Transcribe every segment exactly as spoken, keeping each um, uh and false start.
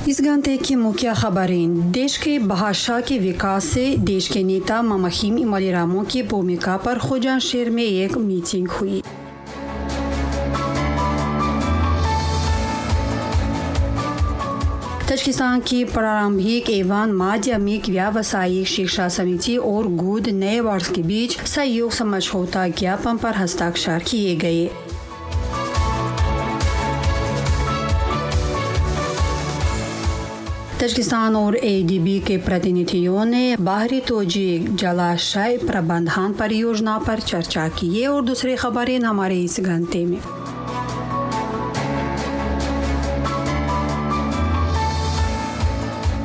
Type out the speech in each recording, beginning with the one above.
इस घंटे की मुख्य खबरें। देश के भाषा के विकास से देश के नेता ममखीम इमोमाली रहमोन की भूमिका पर खुजान शहर में एक मीटिंग हुई। ताजिकिस्तान की प्रारंभिक एवं माध्यमिक व्यावसायिक शिक्षा समिति और गुड नेबर्स के बीच सहयोग समझौता ज्ञापन पर हस्ताक्षर किए गए। ताजिकिस्तान और एडीबी के प्रतिनिधियों ने बाहरी तोजीक जलाशय प्रबंधन परियोजना पर चर्चा की। ये और दूसरी खबरें हमारे इस घंटे में।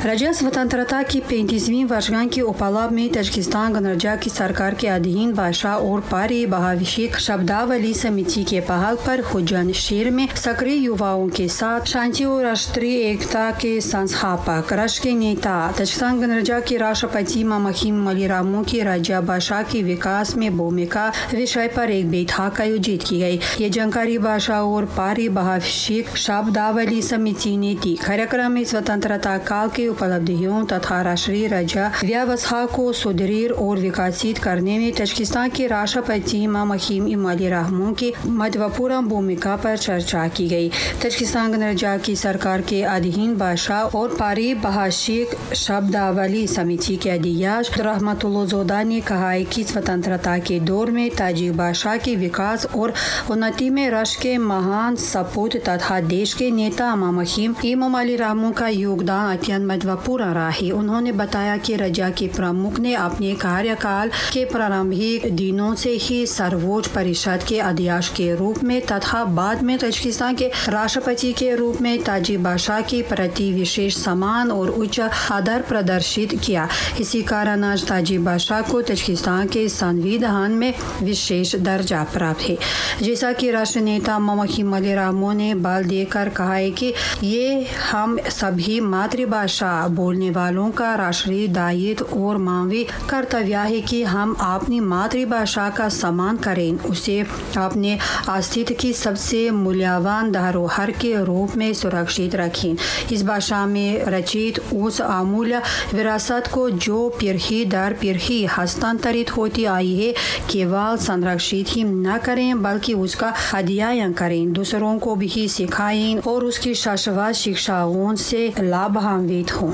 राज्य स्वतंत्रता की पैंतीसवीं वर्षगांठ के उपलक्ष्य में ताजिकिस्तान गणराज्य की सरकार के अधीन भाषा और पारिभाषिक शब्दावली समिति के पहल पर खुजान शहर में सक्रिय युवाओं के साथ शांति और राष्ट्रीय एकता के संस्थापक राष्ट्र के नेता ताजिकिस्तान गणराज्य के राष्ट्रपति ममखीम इमोमाली रहमोन की राज्य भाषा के विकास में भूमिका विषय पर एक बैठक आयोजित की गई। ये जानकारी भाषा और पारिभाषिक शब्दावली समिति ने दी। कार्यक्रम में स्वतंत्रता काल के उपलब्धियों तथा राष्ट्रीय राज्य व्यवस्था को सुदृढ़ और विकसित करने में ताजिकिस्तान के राष्ट्रपति ममखीम इमोमाली रहमोन की महत्वपूर्ण भूमिका पर चर्चा की गई। ताजिकिस्तान गणराज्य की सरकार के अधीन भाषा और पारिभाषिक शब्दावली समिति के अध्यक्ष रहमतुल्लाह ने कहा है कि स्वतंत्रता के दौर में ताजिक भाषा के विकास और उन्नति में राष्ट्र के महान सपूत तथा देश के नेता ममखीम इमोमाली रहमोन का योगदान अत्यंत महत्वपूर्ण रहा है। उन्होंने बताया कि राज्य के प्रमुख ने अपने कार्यकाल के प्रारंभिक दिनों से ही सर्वोच्च परिषद के अध्यक्ष के रूप में तथा बाद में ताजिकिस्तान के राष्ट्रपति के रूप में ताजिक भाषा के प्रति विशेष सम्मान और उच्च आदर प्रदर्शित किया। इसी कारण आज ताजिक भाषा को ताजिकिस्तान के संविधान में विशेष दर्जा प्राप्त है। जैसा कि राष्ट्र नेता ममखीम इमोमाली रहमोन ने बल देकर कहा है कि ये हम सभी मातृभाषा बोलने वालों का राष्ट्रीय दायित्व और मानवीय कर्तव्य है कि हम अपनी मातृभाषा का सम्मान करें, उसे अपने अस्तित्व की सबसे मूल्यवान धरोहर के रूप में सुरक्षित रखें। इस भाषा में रचित उस अमूल्य विरासत को जो पीढ़ी दर पीढ़ी हस्तांतरित होती आई है, केवल संरक्षित ही न करें बल्कि उसका अध्ययन करें, दूसरों को भी सिखाएं और उसकी शाश्वत शिक्षाओं से लाभान्वित हों।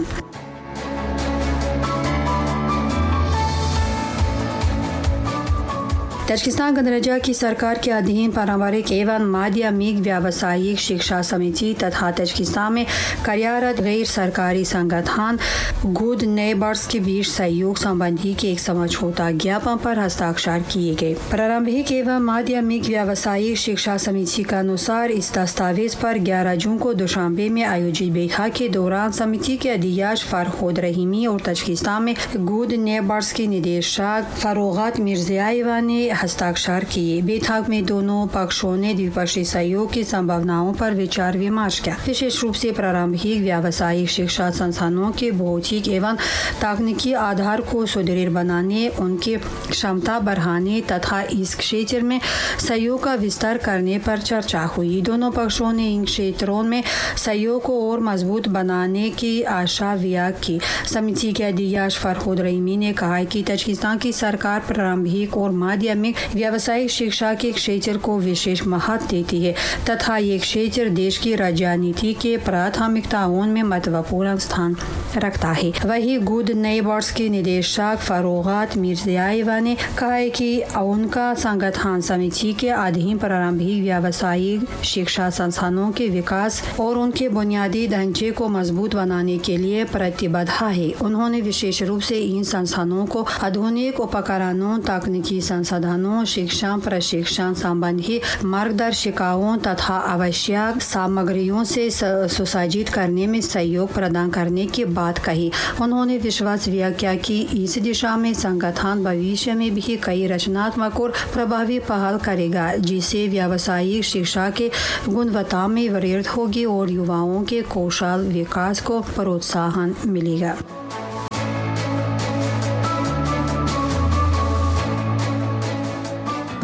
ताजिकिस्तान गणराज्य की सरकार के अधीन पारंपरिक एवं माध्यमिक व्यावसायिक शिक्षा समिति तथा ताजिकिस्तान में कार्यरत गैर सरकारी संगठन गुड नेबर्स के बीच सहयोग संबंधी के एक समझौता ज्ञापन पर हस्ताक्षर किए गए। प्रारंभिक एवं माध्यमिक व्यावसायिक शिक्षा समिति के अनुसार इस दस्तावेज पर ग्यारह जून को दुशांबे में आयोजित बैठक के दौरान समिति के अध्यक्ष फरहोद रहीमी और ताजिकिस्तान में गुड नेबर्स के निदेशक फरोगात मिर्जियाएवा ने हस्ताक्षर किए। बैठक में दोनों पक्षों ने द्विपक्षीय सहयोग की संभावनाओं पर विचार विमर्श किया। विशेष रूप से प्रारंभिक व्यावसायिक शिक्षा संस्थानों के भौतिक एवं तकनीकी आधार को सुदृढ़ बनाने, उनकी क्षमता बढ़ाने तथा इस क्षेत्र में सहयोग का विस्तार करने पर चर्चा हुई। दोनों पक्षों ने इन क्षेत्रों में सहयोग को और मजबूत बनाने की आशा व्यक्त की। समिति के अध्यक्ष फरहोद रहीमी ने कहा कि ताजिकिस्तान की सरकार प्रारंभिक और माध्यमिक व्यावसायिक शिक्षा के क्षेत्र को विशेष महत्व देती है तथा ये क्षेत्र देश की राजनीति के प्राथमिकताओं में महत्वपूर्ण स्थान रखता है। वहीं गुड नेबर्स के निदेशक फरोगात मिर्जियाएवा ने कहा है कि उनका संगठन समिति के अधीन प्रारंभिक व्यावसायिक शिक्षा संस्थानों के विकास और उनके बुनियादी ढांचे को मजबूत बनाने के लिए प्रतिबद्ध है। उन्होंने विशेष रूप से इन संस्थानों को आधुनिक उपकरणों, तकनीकी संसाधनों, शिक्षा प्रशिक्षण संबंधी मार्गदर्शिकाओं तथा आवश्यक सामग्रियों से सुसज्जित करने में सहयोग प्रदान करने की बात कही। उन्होंने विश्वास व्यक्त किया कि इस दिशा में संगठन भविष्य में भी कई रचनात्मक और प्रभावी पहल करेगा, जिससे व्यावसायिक शिक्षा के गुणवत्ता में वृद्धि होगी और युवाओं के कौशल विकास को प्रोत्साहन मिलेगा।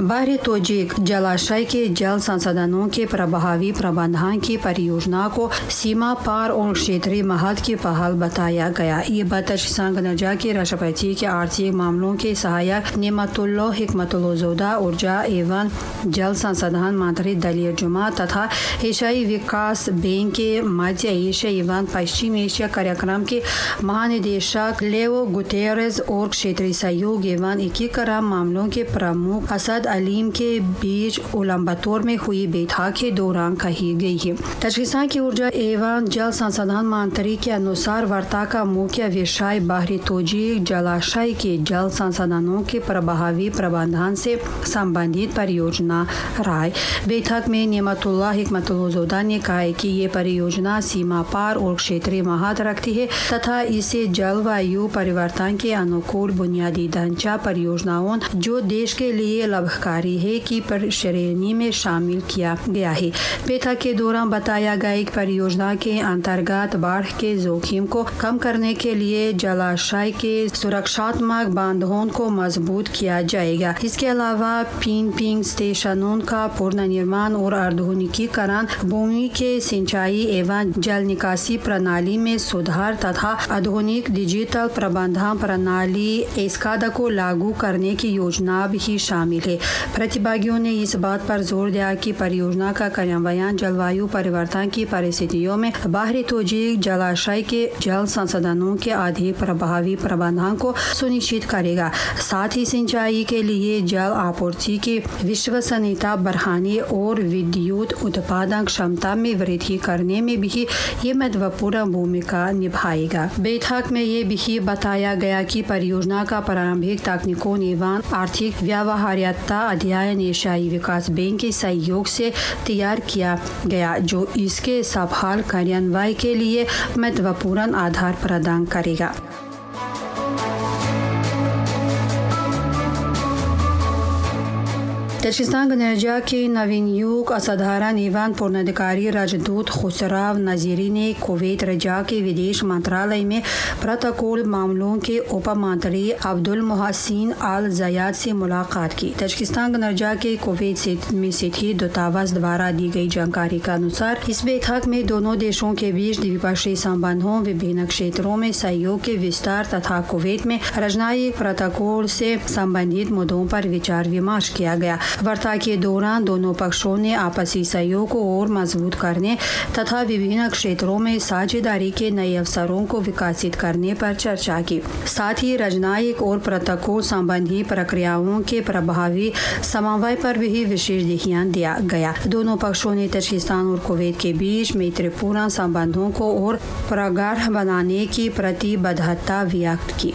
बाहरी तोजिक जलाशय के जल संसाधनों के प्रभावी प्रबंधन की परियोजना को सीमा पार और क्षेत्रीय महत्व की पहल बताया गया। ये बात ताजिकिस्तान गणराज्य के राष्ट्रपति के आर्थिक मामलों के सहायक नेमतुल्लाह हिकमतुल्लाह, ऊर्जा एवं जल संसाधन मंत्री दलीर जुमा तथा एशियाई विकास बैंक के मध्य एशिया एवं पश्चिम एशिया कार्यक्रम के महानिदेशक लेओ गुतेरेस और क्षेत्रीय सहयोग एवं एकीकरण मामलों के प्रमुख असद अलीम के बीच उलानबातोर में हुई बैठक के दौरान कही गई है। ताजिकिस्तान की ऊर्जा एवं जल संसाधन मंत्री के अनुसार वार्ता का मुख्य विषय बाहरी तोजिक जलाशय के जल संसाधनों के प्रभावी प्रबंधन से संबंधित परियोजना रहा। बैठक में नेमतुल्लाह हिकमतुल्लाह ने कहा कि ये परियोजना सीमा पार और क्षेत्रीय महत्व रखती है तथा इसे जलवायु परिवर्तन के अनुकूल बुनियादी ढांचा परियोजनाओं जो देश के लिए लाभकारी है की पर श्रेणी में शामिल किया गया है। बैठक के दौरान बताया गया कि परियोजना के अंतर्गत बाढ़ के जोखिम को कम करने के लिए जलाशय के सुरक्षात्मक बांधों को मजबूत किया जाएगा। इसके अलावा पिन पिंग स्टेशनों का पुनर्निर्माण और आधुनिकीकरण, भूमि के सिंचाई एवं जल निकासी प्रणाली में सुधार तथा आधुनिक डिजिटल प्रबंधन प्रणाली एस्काडा को लागू करने की योजना भी शामिल है। प्रतिभागियों ने इस बात पर जोर दिया कि परियोजना का कार्यान्वयन जलवायु परिवर्तन की परिस्थितियों में बाहरी तोजिक जलाशय के जल संसाधनों के अधिक प्रभावी प्रबंधन को सुनिश्चित करेगा। साथ ही सिंचाई के लिए जल आपूर्ति की विश्वसनीयता बढ़ाने और विद्युत उत्पादन क्षमता में वृद्धि करने में भी ये महत्वपूर्ण भूमिका निभाएगा। बैठक में ये भी बताया गया कि परियोजना का प्रारंभिक तकनीकों एवं आर्थिक व्यवहार्यता अध्ययन एशियाई विकास बैंक के सहयोग से तैयार किया गया, जो इसके सफल कार्यान्वयन के लिए महत्वपूर्ण आधार प्रदान करेगा। ताजिकिस्तान गणराज्य के नवनियुक्त असाधारण एवं पूर्णाधिकारी राजदूत खुसराव नजीरी ने कुवैत राज्य के विदेश मंत्रालय में प्रोटोकॉल मामलों के उप मंत्री अब्दुल मोहसिन अल जयाद से मुलाकात की। ताजिकिस्तान गणराज्य के कुवैत में स्थित दूतावास द्वारा दी गई जानकारी के अनुसार इस बैठक में दोनों देशों के बीच द्विपक्षीय संबंधों, विभिन्न क्षेत्रों में सहयोग के विस्तार तथा कुवैत में राजनयिक प्रोटोकॉल से संबंधित मुद्दों पर विचार विमर्श किया गया। वार्ता के दौरान दोनों पक्षों ने आपसी सहयोग को और मजबूत करने तथा विभिन्न क्षेत्रों में साझेदारी के नए अवसरों को विकसित करने पर चर्चा की। साथ ही राजनयिक और प्रोटोकॉल संबंधी प्रक्रियाओं के प्रभावी समन्वय पर भी विशेष ध्यान दिया गया। दोनों पक्षों ने ताजिकिस्तान और कुवैत के बीच मैत्रीपूर्ण संबंधों को और प्रगाढ़ बनाने की प्रतिबद्धता व्यक्त की।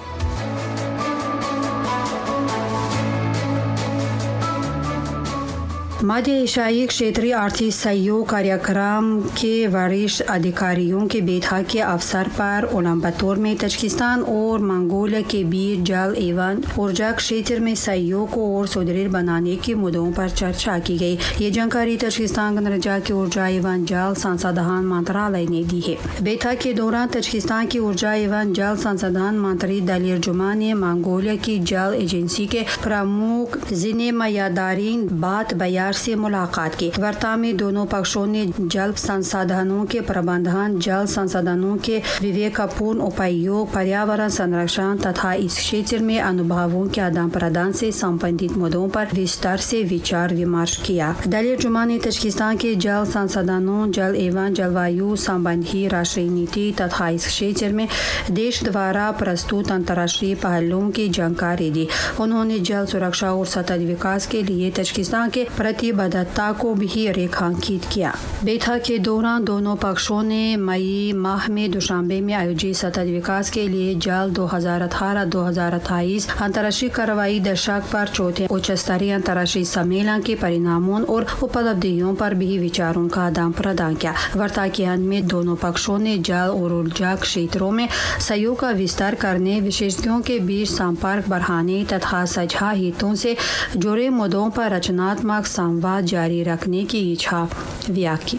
मध्य एशियाई क्षेत्रीय आर्थिक सहयोग कार्यक्रम के वरिष्ठ अधिकारियों के बैठक के अवसर पर उलानबातोर में ताजिकिस्तान और मंगोलिया के बीच जल एवं ऊर्जा क्षेत्र में सहयोग को और सुदृढ़ बनाने के मुद्दों पर चर्चा की गई। ये जानकारी ताजिकिस्तान गणराज्य के ऊर्जा एवं जल संसाधन मंत्रालय ने दी है। बैठक के दौरान ताजिकिस्तान की ऊर्जा एवं जल संसाधन मंत्री दलीर जुमा ने मंगोलिया की जल एजेंसी के प्रमुख जिनेमयादारिन बात बयार से मुलाकात की। वार्ता में दोनों पक्षों ने जल संसाधनों के प्रबंधन, जल संसाधनों के विवेकपूर्ण उपयोग, पर्यावरण संरक्षण तथा इस क्षेत्र में अनुभवों के आदान प्रदान से संबंधित मुद्दों पर विस्तार से विचार विमर्श किया। दलीर जुमा ने ताजिकिस्तान के जल संसाधनों, जल एवं जलवायु संबंधी राष्ट्रीय नीति तथा इस क्षेत्र में देश द्वारा प्रस्तुत अंतर्राष्ट्रीय पहलों की जानकारी दी। उन्होंने जल सुरक्षा और सतत विकास के लिए ताजिकिस्तान के प्रतिबद्धता को भी रेखांकित किया। बैठक के दौरान दोनों पक्षों ने मई माह में दुशांबे में आयोजित सतत विकास के लिए जल दो हज़ार अठारह दो हज़ार अट्ठाईस अंतर्राष्ट्रीय कार्रवाई दशक पर चौथे उच्च स्तरीय अंतर्राष्ट्रीय सम्मेलन के परिणामों और उपलब्धियों पर भी विचारों का आदान प्रदान किया। वार्ता के अंत में दोनों पक्षों ने जल और ऊर्जा क्षेत्रों में सहयोग का विस्तार करने, विशेषज्ञों के बीच संपर्क बढ़ाने तथा साझा हितों से जुड़े मुद्दों पर रचनात्मक संवाद जारी रखने की इच्छा व्यक्त की।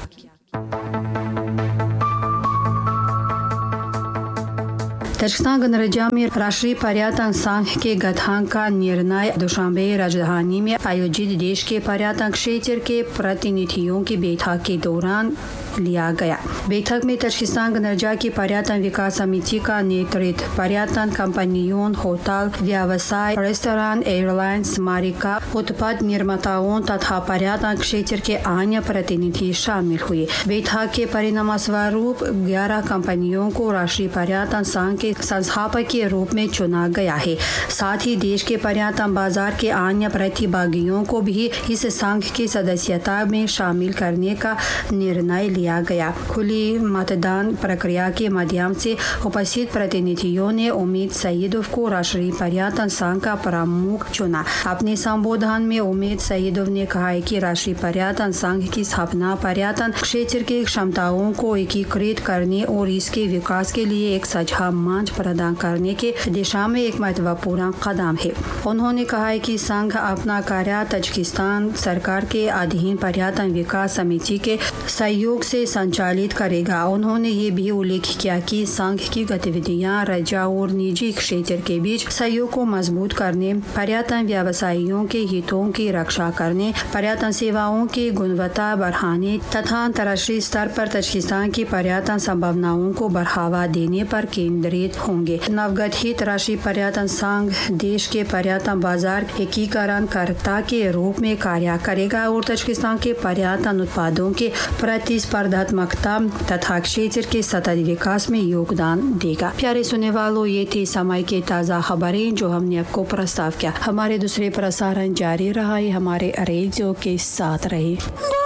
Tajikistan गणराज्य में राष्ट्रीय पर्यटन संघ के गठन का निर्णय दुशांबे राजधानी में आयोजित देश के पर्यटन क्षेत्र के प्रतिनिधियों की बैठक के दौरान लिया गया। बैठक में ताजिकिस्तान गणराज्य की पर्यटन विकास समिति का नेतृत्व पर्यटन कंपनियों, होटल व्यवसाय, रेस्टोरेंट, एयरलाइंस, स्मारिका उत्पाद निर्माताओं तथा पर्यटन क्षेत्र के अन्य प्रतिनिधि शामिल हुए। बैठक के परिणाम स्वरूप ग्यारह कंपनियों को राष्ट्रीय पर्यटन संघ के संस्थापक के रूप में चुना गया है। साथ ही देश के पर्यटन बाजार के अन्य प्रतिभागियों को भी इस संघ की सदस्यता में शामिल करने का निर्णय लिया गया। खुली मतदान प्रक्रिया के माध्यम से उपस्थित प्रतिनिधियों ने उम्मीद सईदोव को राष्ट्रीय पर्यटन संघ का प्रमुख चुना। अपने संबोधन में उम्मीद सईदोव ने कहा कि राष्ट्रीय पर्यटन संघ की स्थापना पर्यटन क्षेत्र की क्षमताओं को एकीकृत करने और इसके विकास के लिए एक साझा मंच प्रदान करने के दिशा में एक महत्वपूर्ण कदम है। उन्होंने कहा कि संघ अपना कार्य ताजिकिस्तान सरकार के अधीन पर्यटन विकास समिति के सहयोग से संचालित करेगा। उन्होंने ये भी उल्लेख किया कि संघ की गतिविधियां राज्य और निजी क्षेत्र के बीच सहयोग को मजबूत करने, पर्यटन व्यवसायियों के हितों की रक्षा करने, पर्यटन सेवाओं की गुणवत्ता बढ़ाने तथा अंतर्राष्ट्रीय स्तर पर ताजिकिस्तान की पर्यटन संभावनाओं को बढ़ावा देने पर केंद्रित होंगे। नवगठित राष्ट्रीय पर्यटन संघ देश के पर्यटन बाजार एकीकरणकर्ता के रूप में कार्य करेगा और ताजिकिस्तान के पर्यटन उत्पादों के प्रतिस्पर्धात्मकता तथा क्षेत्र के सतत विकास में योगदान देगा। प्यारे सुनने वालों, ये थी समय के ताज़ा खबरें जो हमने आपको प्रस्ताव किया। हमारे दूसरे प्रसारण जारी रहा है, हमारे रेडियो के साथ रहे।